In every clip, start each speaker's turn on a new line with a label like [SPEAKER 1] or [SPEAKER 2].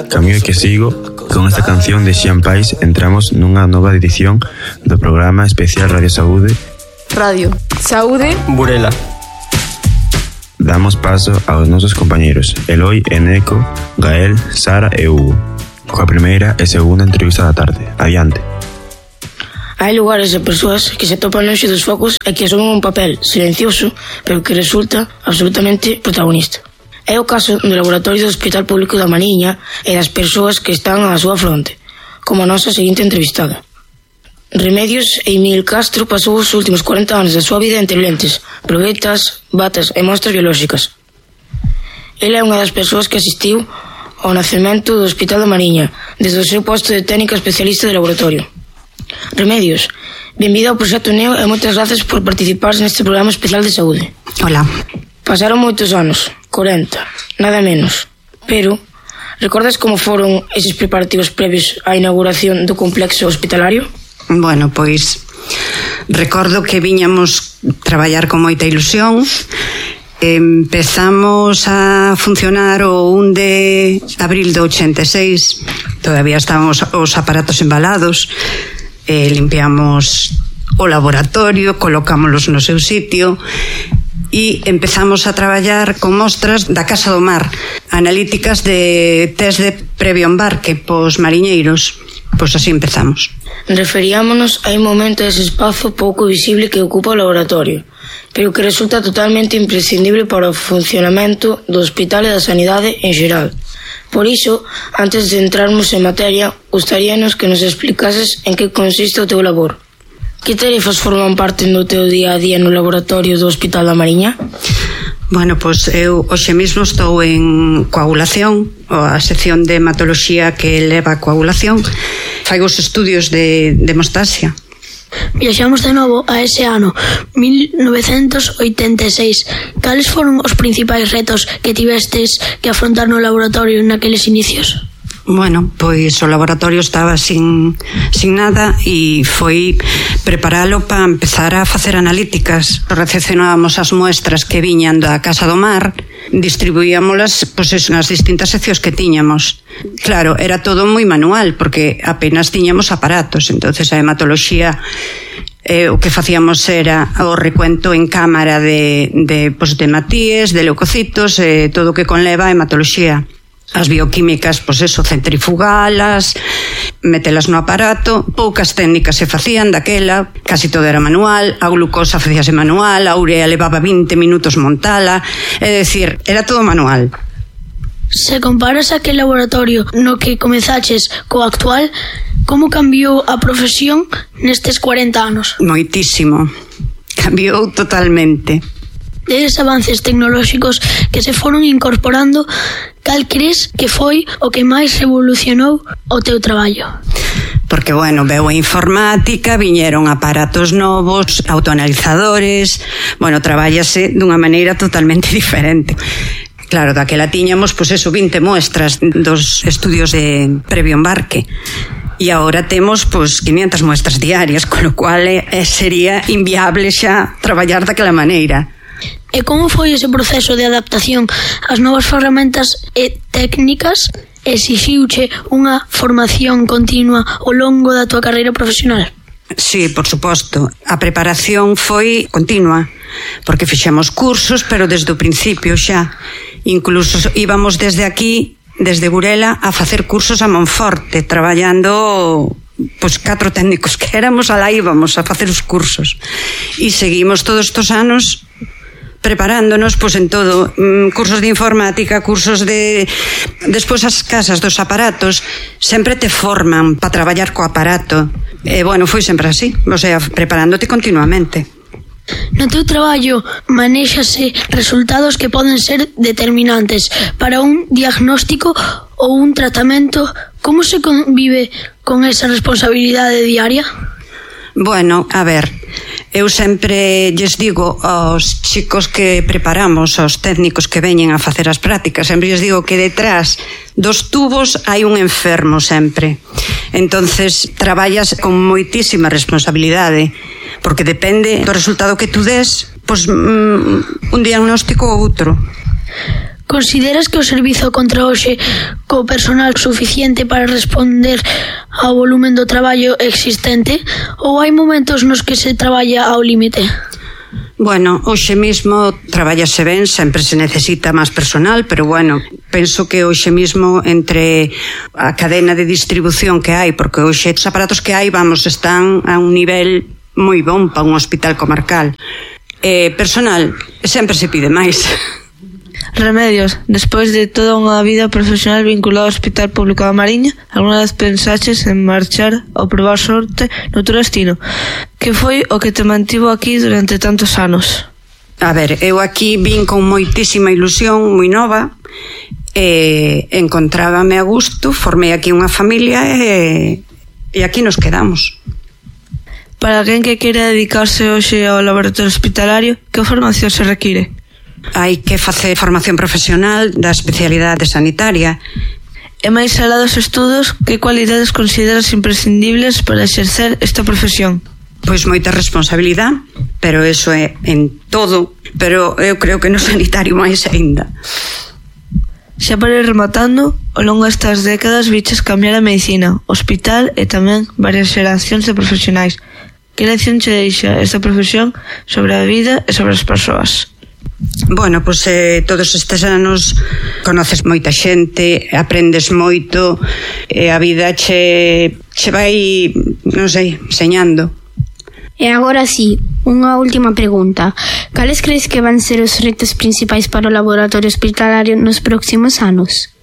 [SPEAKER 1] Camiño que sigo, con esta canción de Xian Pais entramos nunha nova edición do programa especial Radio Saúde
[SPEAKER 2] Saúde
[SPEAKER 3] Burela.
[SPEAKER 1] Damos paso aos nosos compañeiros Eloi, Eneco, Gael, Sara e Hugo coa primeira e segunda entrevista da tarde. Adiante.
[SPEAKER 4] Hai lugares e persoas que se topan lonxe dos focos e que asumen un papel silencioso pero que resulta absolutamente protagonista. É o caso do laboratorio do Hospital Público da Mariña e das persoas que están á súa fronte, como a nosa seguinte entrevistada. Remedios Emil Castro pasou os últimos 40 anos da súa vida entre lentes, probetas, batas e mostras biolóxicas. Ela é unha das persoas que asistiu ao nacemento do Hospital da Mariña desde o seu posto de técnica especialista de laboratorio. Remedios, benvida ao Proxecto Neo e moitas gracias por participar neste programa especial de saúde.
[SPEAKER 5] Hola.
[SPEAKER 4] Pasaron moitos anos, 40, nada menos. Pero, recordas como foron eses preparativos previos á inauguración do complexo hospitalario?
[SPEAKER 5] Bueno, pois recordo que viñamos traballar con moita ilusión. Empezamos a funcionar o 1 de abril do 86. Todavía estaban os aparatos embalados. Limpiamos o laboratorio, colocámoslos no seu sitio e empezamos a traballar con mostras da Casa do Mar, analíticas de test de previo embarque pos mariñeiros. Pois así empezamos.
[SPEAKER 4] Referíamonos a un momento dese espazo pouco visible que ocupa o laboratorio, pero que resulta totalmente imprescindible para o funcionamento do hospital e da sanidade en xeral. Por iso, antes de entrarmos en materia, gustaríanos que nos explicases en que consiste o teu labor. Que tarefas forman parte do teu día a día no laboratorio do Hospital da Mariña?
[SPEAKER 5] Bueno, pois eu hoxe mesmo estou en coagulación, a sección de hematoloxía que leva a coagulación. Faigo os estudios de hemostasia.
[SPEAKER 6] Viaxamos de novo a ese ano, 1986. Cales foron os principais retos que tivestes que afrontar no laboratorio naqueles inicios?
[SPEAKER 5] Bueno, pois o laboratorio estaba sin nada e foi preparalo para empezar a facer analíticas. Recepcionábamos as muestras que viñan da Casa do Mar, distribuíamolas pois nas distintas seccións que tiñamos. Claro, era todo moi manual porque apenas tiñamos aparatos, entonces a hematoloxía o que facíamos era o recuento en cámara de hematíes, de leucocitos, todo o que conleva a hematoloxía. As bioquímicas, pois eso, centrifugalas, metelas no aparato, poucas técnicas se facían daquela, casi todo era manual, a glucosa facíase manual, a urea levaba 20 minutos montala, é dicir, era todo manual.
[SPEAKER 6] Se comparas aquel laboratorio no que comezaches co actual, como cambiou a profesión nestes 40 anos?
[SPEAKER 5] Moitísimo, cambiou totalmente.
[SPEAKER 6] Deses avances tecnolóxicos que se foron incorporando, cal crees que foi o que máis revolucionou o teu traballo?
[SPEAKER 5] Porque, bueno, veu a informática, viñeron aparatos novos, autoanalizadores, bueno, trabállase dunha maneira totalmente diferente. Claro, daquela tiñamos, pois eso, 20 muestras dos estudios de previo embarque. E agora temos, pois, 500 muestras diarias, con lo cual sería inviable xa traballar daquela maneira.
[SPEAKER 6] E como foi ese proceso de adaptación ás novas ferramentas e técnicas? Exixiuche unha formación continua ao longo da tua carreira profesional?
[SPEAKER 5] Sí, por suposto. A preparación foi continua, porque fixemos cursos, pero desde o principio xa. Incluso íbamos desde aquí, desde Burela, a facer cursos a Monforte, traballando pois 4 técnicos que éramos, alá íbamos a facer os cursos. E seguimos todos estos anos preparándonos pois en todo, cursos de informática, cursos de... Despois as casas dos aparatos sempre te forman para traballar co aparato. E, bueno, foi sempre así, o sea, preparándote continuamente.
[SPEAKER 6] No teu traballo manéxase resultados que poden ser determinantes para un diagnóstico ou un tratamento. Como se convive con esa responsabilidade diaria?
[SPEAKER 5] Bueno, a ver, eu sempre lles digo aos chicos que preparamos, aos técnicos que veñen a facer as prácticas, sempre lles digo que detrás dos tubos hai un enfermo sempre. Entonces traballas con moitísima responsabilidade, porque depende do resultado que tú des, pois un diagnóstico ou outro.
[SPEAKER 6] Consideras que o servizo conta hoxe co personal suficiente para responder ao volumen do traballo existente ou hai momentos nos que se traballa ao límite?
[SPEAKER 5] Bueno, hoxe mesmo traballase ben, sempre se necesita máis personal, pero bueno, penso que hoxe mesmo entre a cadena de distribución que hai, porque hoxe os aparatos que hai, vamos, están a un nivel moi bon para un hospital comarcal. Personal, sempre se pide máis.
[SPEAKER 3] Remedios, despois de toda unha vida profesional vinculada ao Hospital Público da Mariña, alguna vez pensaches en marchar ou probar sorte noutro destino? Que foi o que te mantivo aquí durante tantos anos?
[SPEAKER 5] A ver, eu aquí vin con moitísima ilusión, moi nova, encontrábame a gusto, formei aquí unha familia e aquí nos quedamos.
[SPEAKER 3] Para alguén que queira dedicarse hoxe ao laboratorio hospitalario, que formación se require?
[SPEAKER 5] Hai que facer formación profesional da especialidade sanitaria.
[SPEAKER 3] E máis alá dos estudos, que cualidades consideras imprescindibles para exercer esta profesión?
[SPEAKER 5] Pois moita responsabilidade, pero eso é en todo, pero eu creo que no sanitario máis aínda.
[SPEAKER 3] Xa para ir rematando, ao longo destas décadas viches cambiar a medicina, hospital e tamén varias xeracións de profesionais. Que lección che deixa esta profesión sobre a vida e sobre as persoas?
[SPEAKER 5] Bueno, pois todos estes anos conoces moita xente, aprendes moito e a vida che vai, non sei, enseñando.
[SPEAKER 2] E agora sí, unha última pregunta. Cales crees que van ser os retos principais para o laboratorio hospitalario nos próximos anos?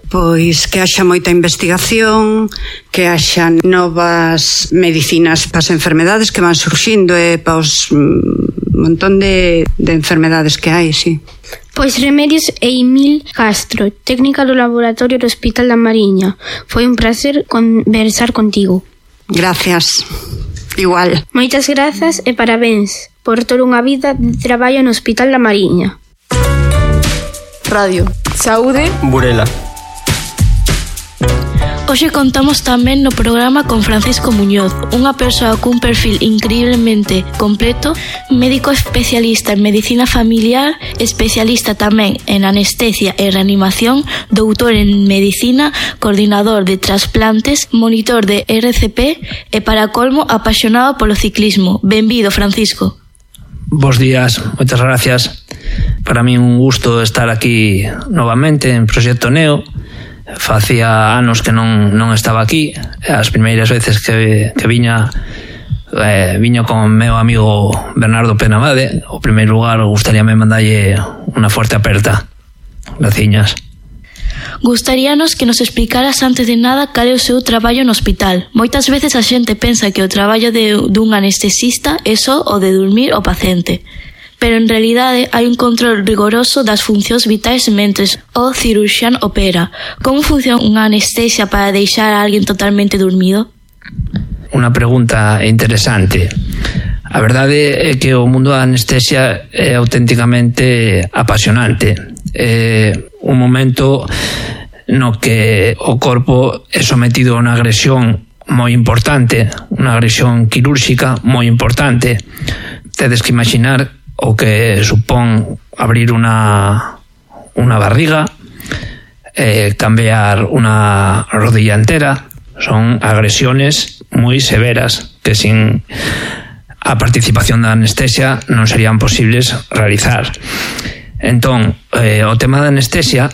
[SPEAKER 5] Pois que haxa moita investigación, que haxa novas medicinas para as enfermedades que van surxindo e para os montón de enfermedades que hai, sí.
[SPEAKER 2] Pois Remedios Eimil Castro, técnica do laboratorio do Hospital da Mariña. Foi un placer conversar contigo.
[SPEAKER 5] Gracias. Igual.
[SPEAKER 2] Moitas grazas e parabéns por toda unha vida de traballo no Hospital da Mariña.
[SPEAKER 7] Radio Saúde
[SPEAKER 8] Burela.
[SPEAKER 4] Hoxe contamos tamén no programa con Francisco Muñoz, unha persoa cun perfil increíblemente completo, médico especialista en medicina familiar, especialista tamén en anestesia e reanimación, doutor en medicina, coordinador de trasplantes, monitor de RCP e, para colmo, apaixonado polo ciclismo. Benvido, Francisco.
[SPEAKER 8] Bos días, moitas gracias. Para mí un gusto estar aquí novamente en Proxecto Neo. Facía anos que non estaba aquí. As primeiras veces que viña con o meu amigo Bernardo Penamade. O primeiro lugar, gustaríame mandalle unha forte aperta. Graciñas.
[SPEAKER 4] Gustaríanos que nos explicaras antes de nada cal é o seu traballo no hospital. Moitas veces a xente pensa que o traballo dun anestesista é só o de dormir o paciente, pero en realidade hai un control rigoroso das funcións vitais mentres o cirurxián opera. Como funciona unha anestesia para deixar a alguén totalmente dormido?
[SPEAKER 8] Unha pregunta interesante. A verdade é que o mundo da anestesia é auténticamente apasionante. É un momento no que o corpo é sometido a unha agresión moi importante, unha agresión quirúrxica moi importante. Tedes que imaginar o que supón abrir unha barriga, cambiar unha rodilla entera. Son agresiones moi severas que sin a participación da anestesia non serían posibles realizar. Entón, o tema da anestesia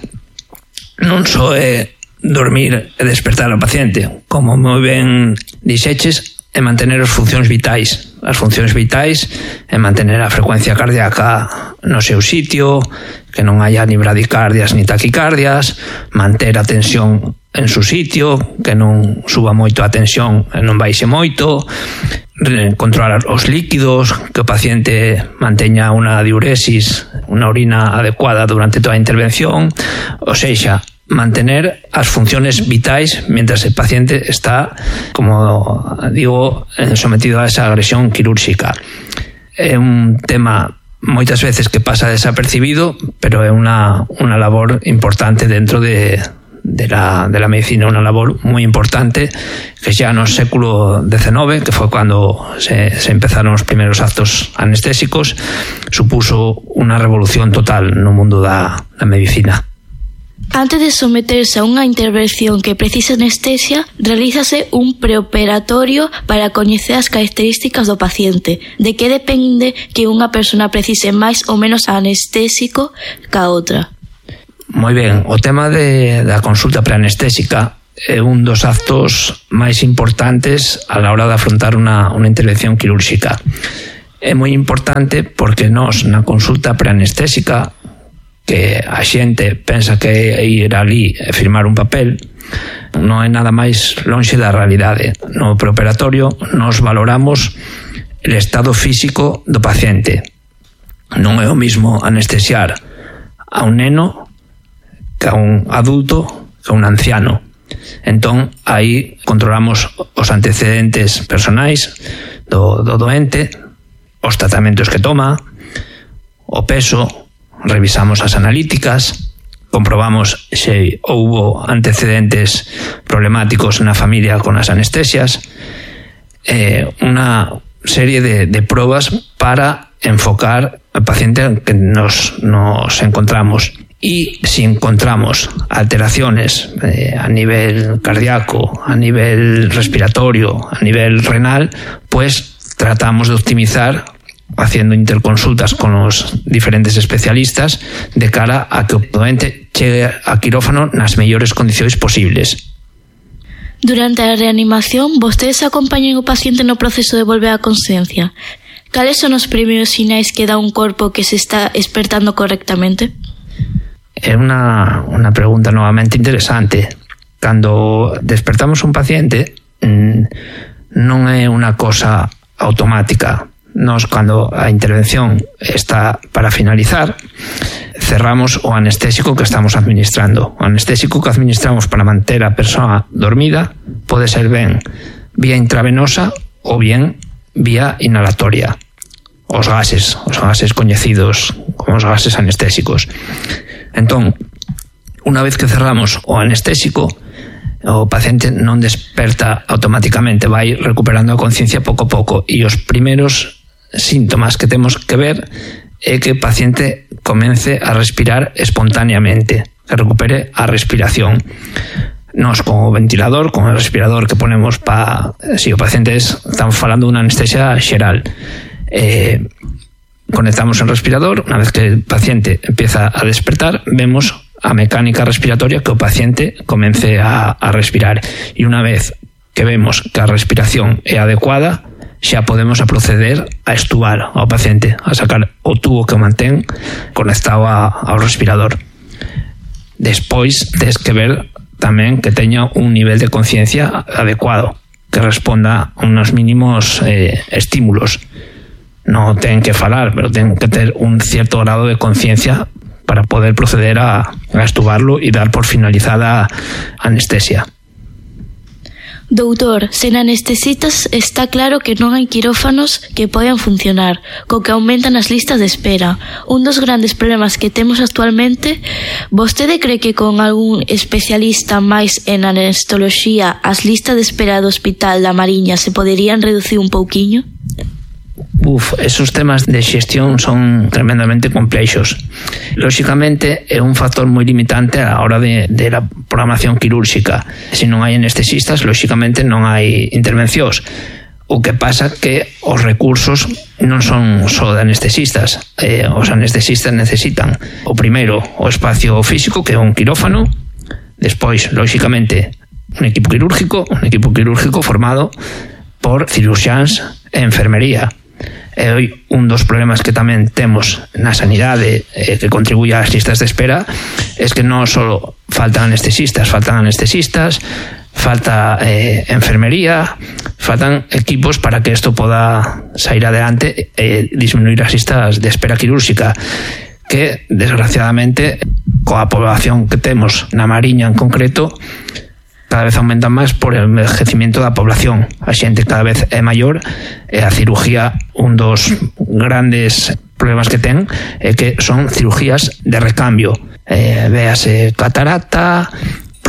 [SPEAKER 8] non só é dormir e despertar ao paciente, como moi ben dixeches, é mantener as funcións vitais. As funcións vitais é mantener a frecuencia cardíaca no seu sitio, que non haya ni bradicardias ni taquicardias, manter a tensión en su sitio, que non suba moito a tensión e non baixe moito, controlar os líquidos, que o paciente manteña unha diuresis, unha orina adecuada durante toda a intervención, ou seja, mantener as funciones vitais mientras el paciente está, como digo, sometido a esa agresión quirúrxica. É un tema moitas veces que pasa desapercibido, pero é unha labor importante dentro de la medicina, una labor muy importante que ya no século XIX, que fue cuando se empezaron los primeros actos anestésicos, supuso unha revolución total no mundo da medicina.
[SPEAKER 7] Antes de someterse a unha intervención que precisa anestesia, realízase un preoperatorio para coñecer as características do paciente. De que depende que unha persona precise máis ou menos anestésico ca outra?
[SPEAKER 8] Moi ben, o tema da consulta preanestésica é un dos actos máis importantes a la hora de afrontar unha intervención quirúrxica. É moi importante porque nós na consulta preanestésica, que a xente pensa que é ir ali e firmar un papel, non é nada máis lonxe da realidade. No preoperatorio nos valoramos el estado físico do paciente. Non é o mismo anestesiar a un neno que a un adulto, que a un anciano. Entón, aí controlamos os antecedentes personais do doente, os tratamentos que toma, o peso, revisamos as analíticas, comprobamos se houbo antecedentes problemáticos na familia con as anestesias, unha serie de probas para enfocar al paciente que nos encontramos. Y si encontramos alteraciones a nivel cardíaco, a nivel respiratorio, a nivel renal, pues tratamos de optimizar haciendo interconsultas con los diferentes especialistas de cara a que o doente chegue a quirófano nas mellores condicións posibles.
[SPEAKER 7] Durante a reanimación, vostedes acompañan o paciente no proceso de volver á consciencia. Cales son os primeiros sinais que dá un corpo que se está despertando correctamente?
[SPEAKER 8] É unha pregunta novamente interesante. Cando despertamos un paciente, non é unha cosa automática. Nos, cando a intervención está para finalizar, cerramos o anestésico que estamos administrando. O anestésico que administramos para manter a persoa dormida pode ser ben vía intravenosa ou bien vía inhalatoria. Os gases coñecidos como os gases anestésicos. Entón, unha vez que cerramos o anestésico, o paciente non desperta automáticamente, vai recuperando a conciencia pouco a pouco, e os primeiros síntomas que temos que ver é que o paciente comece a respirar espontáneamente, que recupere a respiración. Nos, con o ventilador, con o respirador que ponemos si o paciente estamos falando dunha anestesia xeral, conectamos el respirador. Una vez que el paciente empieza a despertar, vemos a mecánica respiratoria que o paciente comence a respirar, e unha vez que vemos que a respiración é adecuada, xa podemos a proceder a extubar ao paciente, a sacar o tubo que o mantén conectado ao respirador. Despois tes que ver tamén que teña un nivel de conciencia adecuado, que responda a unos mínimos estímulos. No ten que falar, pero ten que ter un cierto grado de conciencia para poder proceder a extubarlo e dar por finalizada a anestesia.
[SPEAKER 7] Doutor, sen anestesitas está claro que non hai quirófanos que poden funcionar, co que aumentan as listas de espera. Un dos grandes problemas que temos actualmente, vostede cree que con algún especialista máis en anestoloxía as listas de espera do Hospital da Mariña se poderían reducir un pouquiño?
[SPEAKER 8] Esos temas de xestión son tremendamente complexos. Lóxicamente é un factor moi limitante a hora de la programación quirúrxica. Se non hai anestesistas, lóxicamente non hai intervencións. O que pasa que os recursos non son só de anestesistas. Os anestesistas necesitan o primeiro o espacio físico, que é un quirófano, despois, lóxicamente, un equipo quirúrgico formado por ciruxáns e enfermería. E hoy un dos problemas que tamén temos na sanidade que contribuye ás listas de espera es que non só faltan anestesistas, falta enfermería, faltan equipos para que isto poda sair adelante e disminuir as listas de espera quirúrxica, que desgraciadamente coa población que temos na Mariña en concreto cada vez aumentan máis por el envejecimiento da población. A xente cada vez é maior e a cirugía, un dos grandes problemas que ten é que son cirugías de recambio. Véase catarata,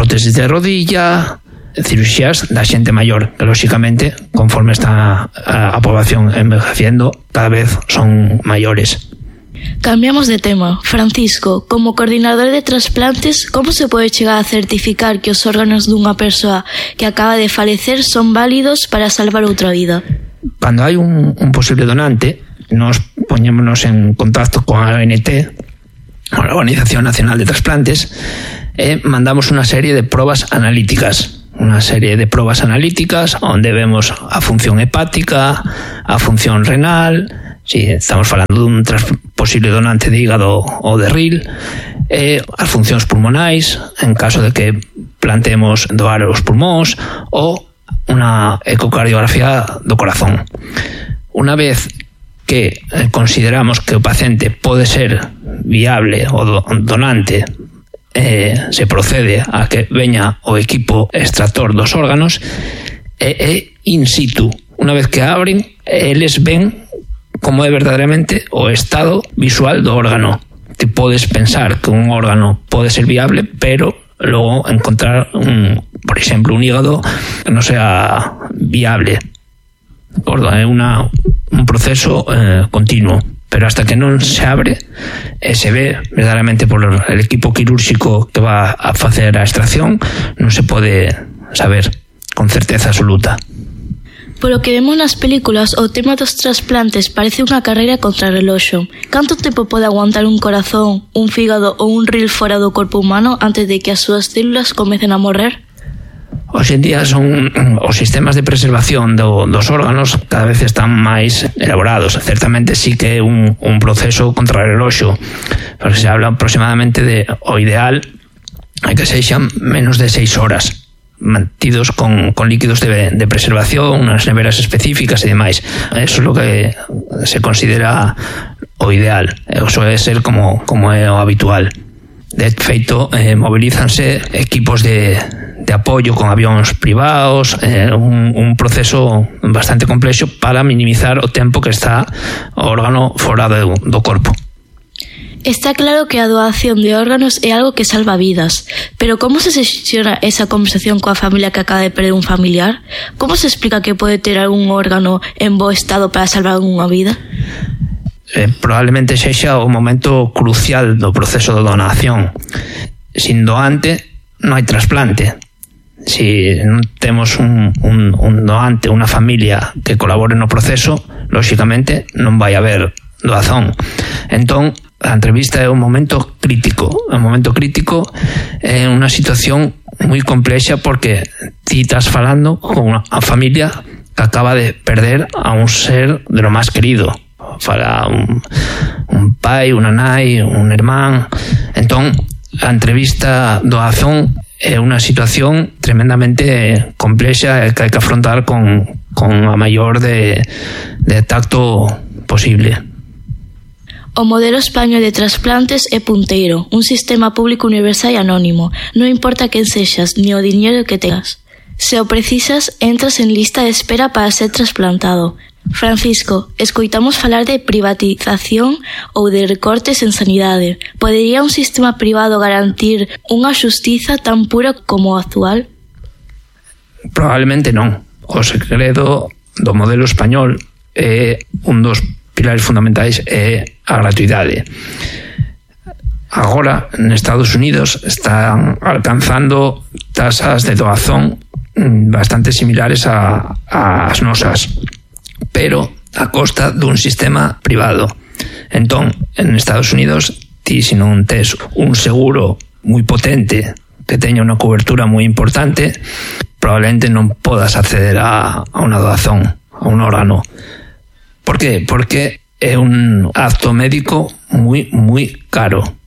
[SPEAKER 8] prótesis de rodilla, cirugías da xente maior, que lóxicamente, conforme está a población envejeciendo, cada vez son maiores.
[SPEAKER 7] Cambiamos de tema. Francisco, como coordinador de trasplantes, como se pode chegar a certificar que os órganos dunha persoa que acaba de falecer son válidos para salvar outra vida?
[SPEAKER 8] Cando hai un posible donante, nos poñémonos en contacto con a ONT, a Organización Nacional de Trasplantes, e mandamos unha serie de probas analíticas. Onde vemos a función hepática, a función renal, si estamos falando dun posible donante de hígado ou de ril, as funcións pulmonais, en caso de que planteemos doar os pulmóns, ou unha ecocardiografía do corazón. Unha vez que consideramos que o paciente pode ser viable o donante, se procede a que veña o equipo extractor dos órganos e in situ, unha vez que abren, eles ven como é verdadeiramente o estado visual do órgano. Te podes pensar que un órgano pode ser viable, pero logo encontrar por exemplo, un hígado que non sea viable. É un proceso continuo, pero hasta que non se abre e se ve verdadeiramente por el equipo quirúrxico que va a facer a extracción, non se pode saber con certeza absoluta.
[SPEAKER 7] Polo que vemos nas películas, o tema dos trasplantes parece unha carreira contra reloxo. Canto tempo pode aguantar un corazón, un fígado ou un ril fora do corpo humano antes de que as súas células comecen a morrer?
[SPEAKER 8] Hoxe en día son os sistemas de preservación dos órganos cada vez están máis elaborados. Certamente sí que é un proceso contrarreloxo, porque se habla aproximadamente de o ideal é que sexan menos de 6 horas mantidos con líquidos de preservación, unas neveras específicas e demais. Eso é o que se considera o ideal. Eso é ser como é o habitual. De feito, mobilízanse equipos de apoio con avións privados, un proceso bastante complexo para minimizar o tempo que está o órgano fora do corpo.
[SPEAKER 7] Está claro que a doación de órganos é algo que salva vidas, pero como se xestiona esa conversación coa familia que acaba de perder un familiar? Como se explica que pode ter algún órgano en bo estado para salvar unha vida?
[SPEAKER 8] Probablemente sexa o momento crucial do proceso de donación. Sin doante non hai trasplante. Si non temos un doante, unha familia que colabore no proceso, lóxicamente non vai haber doazón. Entón, a entrevista é un momento crítico. Un momento crítico é unha situación moi complexa porque ti estás falando con unha familia que acaba de perder a un ser de lo máis querido. Fala un pai, unha nai, un irmán. Entón, a entrevista doazón é unha situación tremendamente complexa e que hai que afrontar con a maior de tacto posible.
[SPEAKER 7] O modelo español de trasplantes é punteiro, un sistema público universal e anónimo. Non importa quen sexas, ni o diñeiro que tengas. Se o precisas, entras en lista de espera para ser trasplantado. Francisco, escoitamos falar de privatización ou de recortes en sanidade. Podería un sistema privado garantir unha xustiza tan pura como o actual?
[SPEAKER 8] Probablemente non. O segredo do modelo español é un dos pilares fundamentais é a gratuidade. Agora, en Estados Unidos están alcanzando tasas de doazón bastante similares ás nosas, pero a costa dun sistema privado. Entón, en Estados Unidos, ti se non tes un seguro moi potente que teña unha cobertura moi importante, probablemente non podas acceder a unha doazón, a un órgano. Por qué? Porque é un acto médico moi caro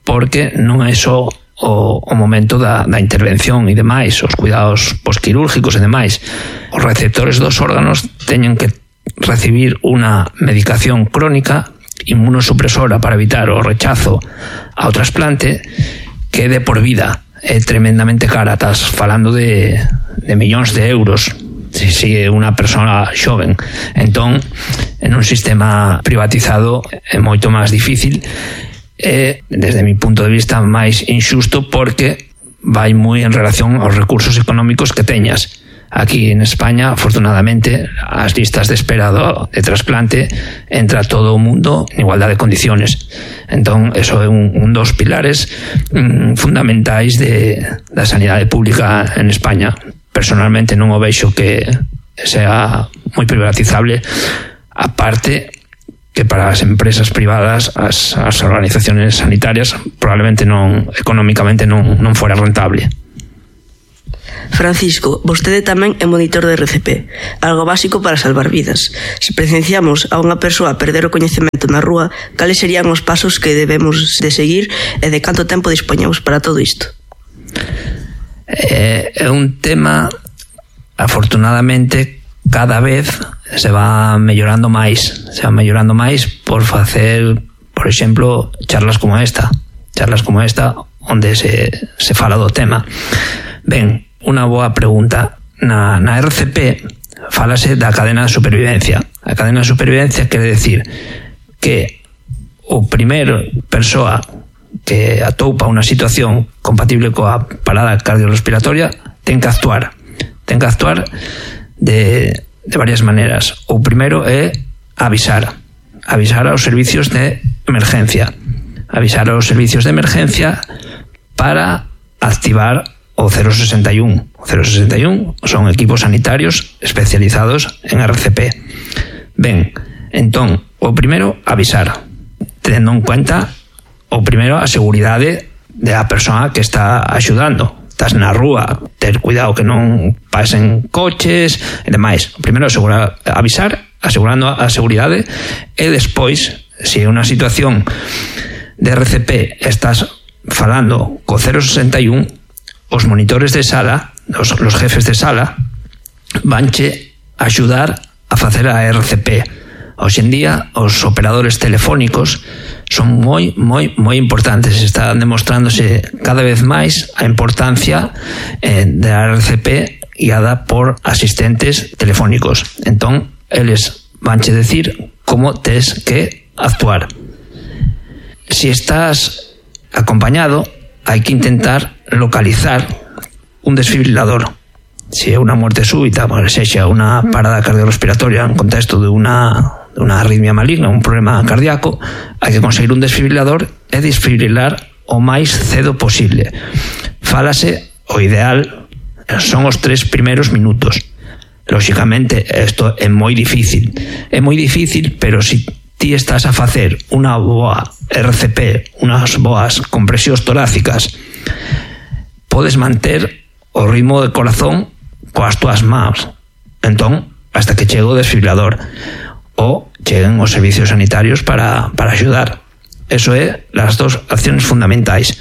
[SPEAKER 8] porque non é só o momento da intervención e demais, os cuidados posquirúrgicos e demais. Os receptores dos órganos teñen que recibir unha medicación crónica inmunosupresora para evitar o rechazo ao trasplante que é de por vida. É tremendamente cara, estás falando de millóns de euros si é unha persona xoven. Entón, en un sistema privatizado é moito máis difícil e, desde mi punto de vista, máis injusto porque vai moi en relación aos recursos económicos que teñas. Aquí en España, afortunadamente, as listas de espera de trasplante entra todo o mundo en igualdade de condiciones. Entón, eso é un dos pilares fundamentais da sanidade pública en España. Personalmente non o vexo que sea moi privatizable, aparte que para as empresas privadas, as organizaciones sanitarias, probablemente económicamente non fora rentable.
[SPEAKER 9] Francisco, vostede tamén é monitor de RCP, algo básico para salvar vidas. Se presenciamos a unha persoa perder o coñecemento na rúa, cales serían os pasos que debemos de seguir e de canto tempo dispoñamos para todo isto?
[SPEAKER 8] É un tema, afortunadamente, cada vez se va mellorando máis. Se va mellorando máis por facer, por exemplo, charlas como esta, onde se fala do tema. Ben, unha boa pregunta. Na RCP falase da cadena de supervivencia. A cadena de supervivencia quere decir que o primeiro persoa que atoupa unha situación compatible coa parada cardiorrespiratoria ten que actuar de varias maneras. O primeiro é avisar aos servicios de emergencia para activar o 061. O 061 son equipos sanitarios especializados en RCP. Ben, entón, o primeiro, avisar, tendo en cuenta o primeiro a seguridade da persoa que está axudando. Estás na rúa, ter cuidado que non pasen coches e demais. O primeiro, avisar, asegurando a seguridade, e despois, se é unha situación de RCP estás falando co 061, os monitores de sala, os jefes de sala, vanche axudar a facer a RCP. Hoxe en día, os operadores telefónicos son moi importantes. Está demostrándose cada vez máis a importancia da RCP guiada por asistentes telefónicos. Entón, eles vanche decir como tes que actuar. Si estás acompañado, hai que intentar localizar un desfibrilador. Si é unha muerte súbita, sexa unha parada cardiorrespiratoria en contexto de unha arritmia maligna, un problema cardíaco, hai que conseguir un desfibrilador e desfibrilar o máis cedo posible. Fálase, o ideal son os 3 primeiros minutos. Lóxicamente, isto é moi difícil, pero si ti estás a facer unha boa RCP, unhas boas compresións torácicas, podes manter o ritmo de corazón coas túas mans. Entón, hasta que chegue o desfibrilador ou cheguen os servicios sanitarios para axudar. Eso é as dos acciones fundamentais.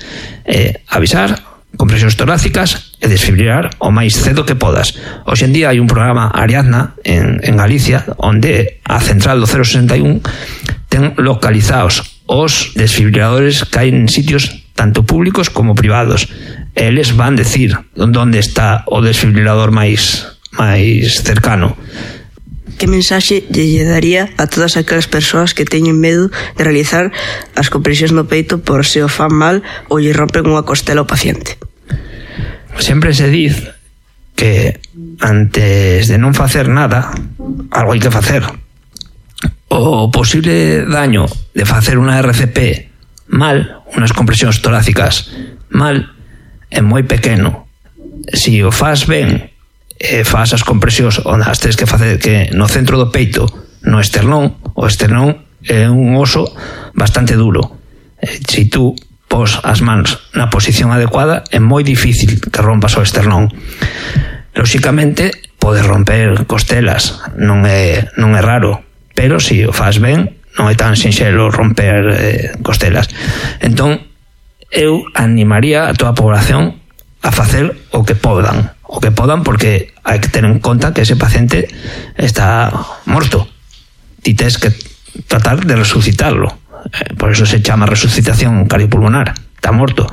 [SPEAKER 8] Avisar, compresións torácicas e desfibrilar o máis cedo que podas. Hoxe en día hai un programa Ariadna en Galicia onde a central do 061 ten localizados os desfibriladores que hai en sitios tanto públicos como privados. Eles van decir onde está o desfibrilador máis cercano.
[SPEAKER 9] Que mensaxe lle daría a todas aquelas persoas que teñen medo de realizar as compresións no peito por se o fan mal ou lle rompen unha costela ao paciente?
[SPEAKER 8] Sempre se diz que antes de non facer nada, algo hai que facer. O posible daño de facer unha RCP mal, unhas compresións torácicas mal, é moi pequeno. Si o faz ben, faz as compresións onde as tens que facer, que no centro do peito, no esternón, o esternón é un oso bastante duro. Si tú pos as mans na posición adecuada, é moi difícil que rompas o esternón. Lóxicamente, pode romper costelas, non é raro, pero si o faz ben, non é tan sinxelo romper costelas. Entón, eu animaría a toda a población a facer o que podan, porque hai que ter en conta que ese paciente está morto. Ti tes que tratar de resucitarlo. Por eso se chama resucitación cardiopulmonar. Está morto.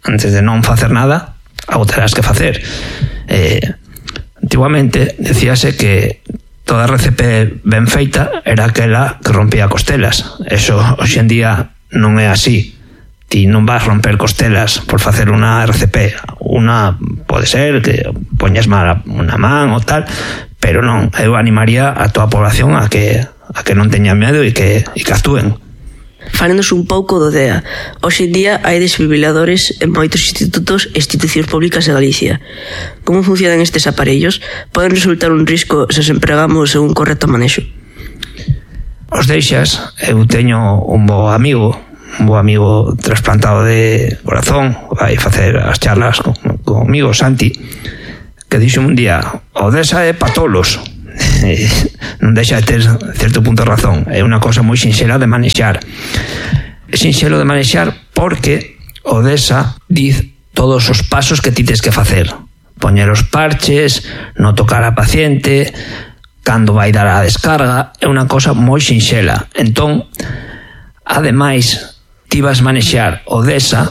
[SPEAKER 8] Antes de non facer nada, algo terás que facer. Antiguamente decíase que toda RCP ben feita era aquela que rompía costelas. Eso hoxe en día non é así. ti non vas romper costelas por facer unha RCP. Unha pode ser que poñas mal unha man ou tal, pero non, eu animaría a toda a población a que non teña medo e que actúen.
[SPEAKER 9] Fálenos un pouco do DEA. Hoxe en día hai desfibriladores en moitos institutos e institucións públicas de Galicia. Como funcionan estes aparellos? Poden resultar un risco se os empregamos en un correcto manexo?
[SPEAKER 8] Os deixas, eu teño un bo amigo trasplantado de corazón, vai facer as charlas comigo, Santi, que dixo un día, o DESA é pa tolos. Non deixa de ter certo punto de razón. É unha cosa moi sinxela de manexar. É sinxelo de manexar porque o DESA diz todos os pasos que ti tens que facer. Poñer os parches, non tocar a paciente, cando vai dar a descarga, é unha cosa moi sinxela. Entón, ademais, ti vas manexar o DESA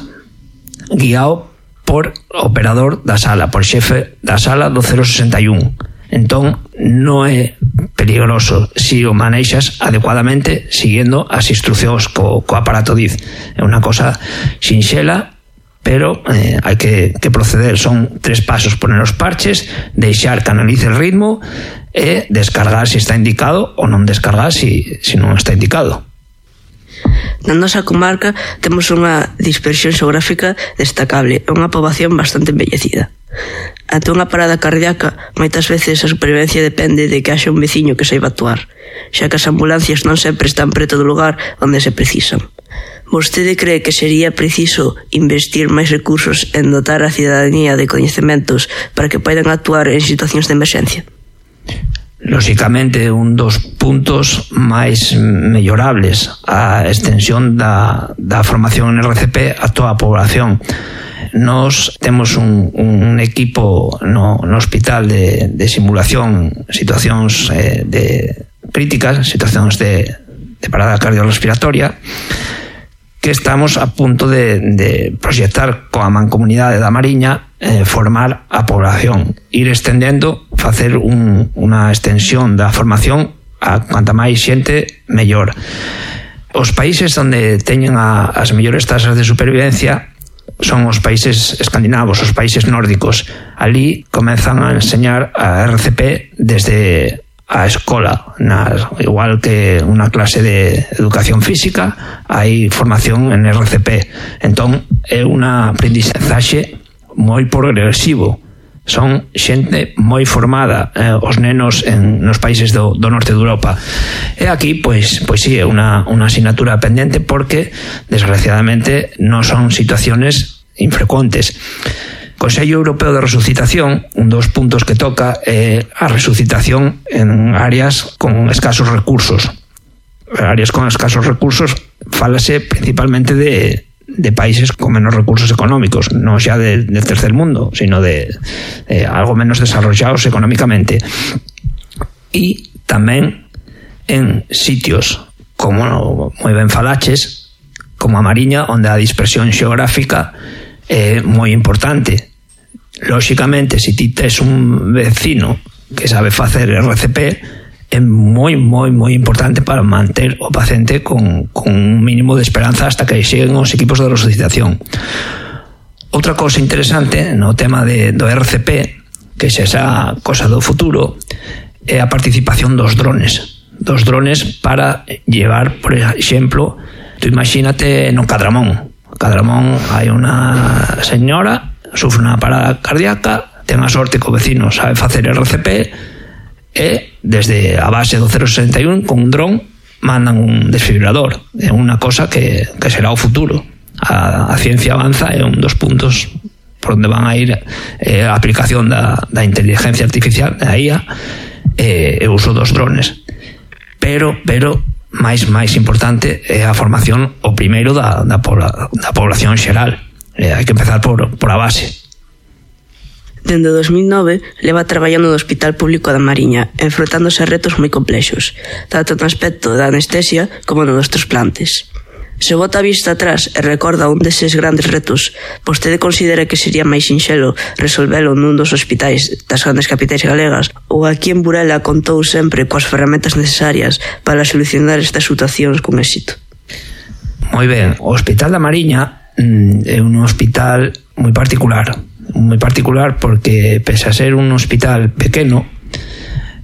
[SPEAKER 8] guiado por operador da sala, por xefe da sala do 061. Entón, non é peligroso si o manexas adecuadamente siguiendo as instruccións co aparato DIZ. É unha cosa sinxela, pero hai que proceder. Son 3 pasos: poner os parches, deixar que analice el ritmo e descargar se está indicado ou non descargar se non está indicado.
[SPEAKER 9] Na nosa comarca temos unha dispersión xeográfica destacable e unha poboación bastante envellecida. Ante unha parada cardíaca, moitas veces a supervivencia depende de que haxa un veciño que saiba actuar, xa que as ambulancias non sempre están preto do lugar onde se precisan. Vostede cree que sería preciso investir máis recursos en dotar a cidadanía de coñecementos para que poidan actuar en situacións de emerxencia?
[SPEAKER 8] Lóxicamente, un dos puntos máis mellorables a extensión da formación en RCP a toda a población. Nos temos un equipo no hospital de simulación, situacións de críticas, situacións de parada cardiorrespiratoria, que estamos a punto de proxectar coa mancomunidade da Mariña, formar a población, ir extendendo, facer unha extensión da formación a cuanta máis xente mellor. Os países onde teñen as mellores tasas de supervivencia son os países escandinavos, os países nórdicos. Ali comezan a enseñar a RCP desde a escola, igual que unha clase de educación física, hai formación en RCP. Entón, é unha aprendizaxe moi progresivo. Son xente moi formada, os nenos nos países do norte de Europa. E aquí, pois sí, é unha asignatura pendente porque, desgraciadamente, non son situaciones infrecuentes. Consello Europeo de Resucitación, un dos puntos que toca é a resucitación en áreas con escasos recursos. Áreas con escasos recursos, fálase principalmente de países con menos recursos económicos, non xa del tercer mundo, sino de algo menos desarrollados económicamente. E tamén en sitios como moi ben falaches, como a Mariña, onde a dispersión xeográfica é moi importante. Lóxicamente, se ti tes un vecino que sabe facer RCP, é moi importante para manter o paciente con un mínimo de esperanza hasta que xeguen os equipos de resucitación. Outra cousa interesante no tema do RCP, que xa esa cosa do futuro, é a participación dos drones para llevar, por exemplo, tú imagínate no Cadramón. Hai unha señora, sufre unha parada cardíaca, ten a sorte que o vecino sabe facer RCP e desde a base do 061 con un dron mandan un desfibrilador. É unha cosa que será o futuro. A ciencia avanza, é un dos puntos por onde van a ir a aplicación da inteligencia artificial, da IA, e o uso dos drones. Pero máis importante é a formación o primeiro da población xeral. Hai que empezar por a base.
[SPEAKER 9] Dende 2009 leva traballando no Hospital Público da Mariña, enfrontándose a retos moi complexos, tanto no aspecto da anestesia como no dos trasplantes. Se bota a vista atrás e recorda un deses grandes retos, vostede considera que sería máis sinxelo resolvelo nun dos hospitais das grandes capitais galegas ou aquí en Burela contou sempre coas ferramentas necesarias para solucionar estas situacións con éxito?
[SPEAKER 8] Moi ben, o Hospital da Mariña é un hospital moi particular porque, pese a ser un hospital pequeno,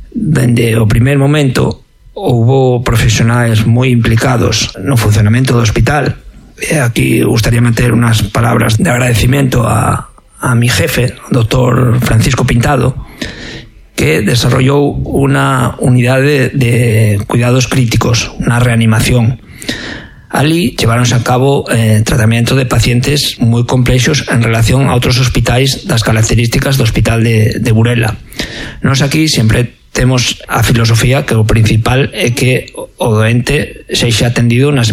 [SPEAKER 8] dende o primer momento houbo profesionais moi implicados no funcionamento do hospital. E aquí gustaría meter unas palabras de agradecimiento a mi jefe, o doctor Francisco Pintado, que desarrollou unha unidade de cuidados críticos, unha reanimación. Ali lleváronse a cabo tratamento de pacientes moi complexos en relación a outros hospitais das características do hospital de Burela. Nos aquí sempre temos a filosofía que o principal é que o doente sexa atendido nas